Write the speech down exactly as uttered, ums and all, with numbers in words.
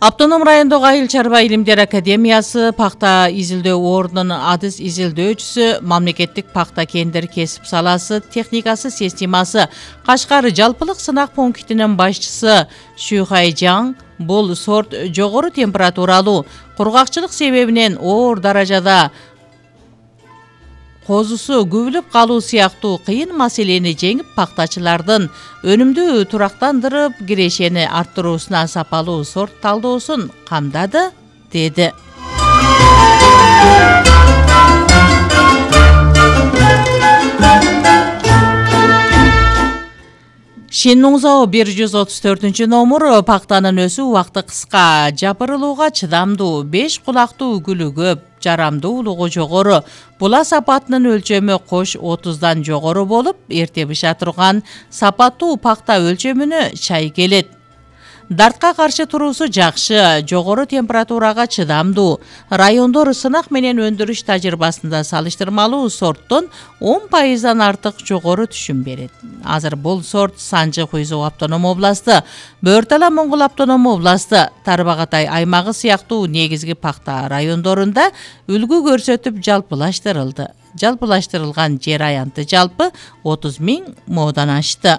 Автоном райондогу Айыл чарба илимдер академиясы пакта изилдөө ордунун адыс изилдөөчүсү, мамлекеттик пакта кендер кесип саласы техникасы системасы Кашкар жалпылык сынак пунктинин башчысы Шухайжан бул сорт жогору температуралуу, кургакчылык себебинен оор даражада козусу күбүлүп калуу сыяктуу кыйын маселени жеңип, пактачылардын өнүмдүү турактандырып, кирешени арттыруусуна сапалуу сорт талдоосун камдады, деди. Шиннуңзоо бир жүз отуз төртүнчү номур пактанын өсүү убакыты кыска, жапырылууга чыдамдуу, беш кулактуу үгүлү көп, жарамдуулугу жогору. Була сапатынын өлчөмү кош отуздан жогору болуп, эрте быша турган сапаттуу пакта өлчөмүнө чай келет. Дартка каршы туруусу жакшы, жогору температурага чыдамдуу. Райондор сынак менен өндүрүш тажрыйбасында салыштырмалуу сорттон он пайыздан артык жогору түшүм берет. Азыр бул сорт Санжы Куйзоо автоном областы, Бөөр-Тала Моңгол автоном областы, Тарбагатай аймагы сыяктуу негизги пакта райондорунда үлгү көрсөтүп жалпылаштырылды. Жалпылаштырылган жер аянты жалпы отуз миң моодан ашты.